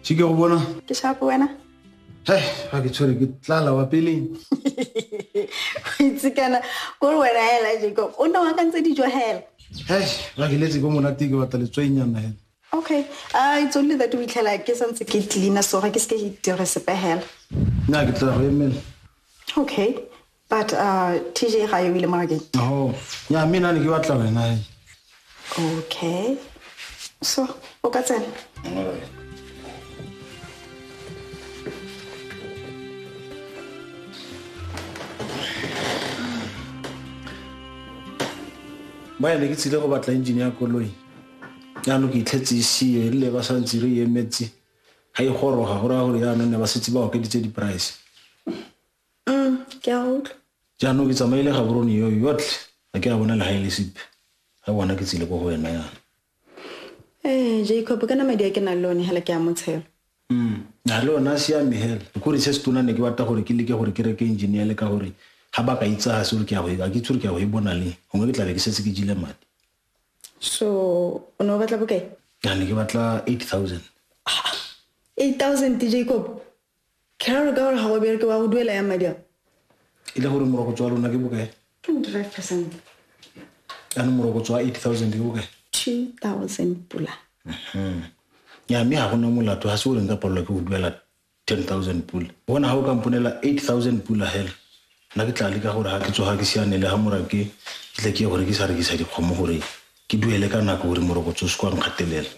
Ke go bona. Ke sharp wena? Hei, ga ke tshwere ke tlala wa peleng. Itse kana kore wena hela Jacob, o nna o akantse dijo hela. Hei, ga ke letse ko monate ke batla letswainyana hela. Okay, it's only that o itlhela ke santse ke cleaner so ga ke se ke dire sepe hela. Nna ke tla go emela. Okay, but TJ ga yo ile morakeng. Oh, nya mme nna ne ke batla wena. Okay. So, o ka tsena. Alright. Ba ne ke tsile go batla engine ya koloi. Jaanong ke itlhetse e sie, erile ba santse re emetse. Ga e goroga go raya gore jaanong ne ba setse ba okeditse di-price. Ke a utlwa. Jaanong ke tsamaile Gaborone yo yotlhe, ga ke a bona legae le sepe. Ga bona ke tsile ko go wena yana. Jacob, kana madi a ke nang le one hela ke a motshelo. A le ona a siame hela. Kore se se tona ne ke batla gore ke leke gore ke reke engine le ka gore ga ba ka itsa se gore ke a go e, a ke itse gore ke a go e bona leng. Gongwe ke tla be ke setse ke jile madi. So, o ne o batla bokae? Ya ne ke batla 8,000. 8,000 Jacob? Ke ra gore ka gore ga go bereke wa go duela yang madi ao? E le gore morokotso wa lona ke bokae? 25%. Jaanong morokotso wa 8,000 ke bokae? 2,000 pula. Ya mme ga gona molato, ga se gore nka palelwa ke go duela 10,000 pula. Bona ga o ka mponela 8,000 pula hela, nna ke tla leka gore ga ke tsoga ke siane le ga morake, ke tle ke ye go rekisa dikgomo gore ke duele ka nako gore morokotso o se kwa nkgatelela.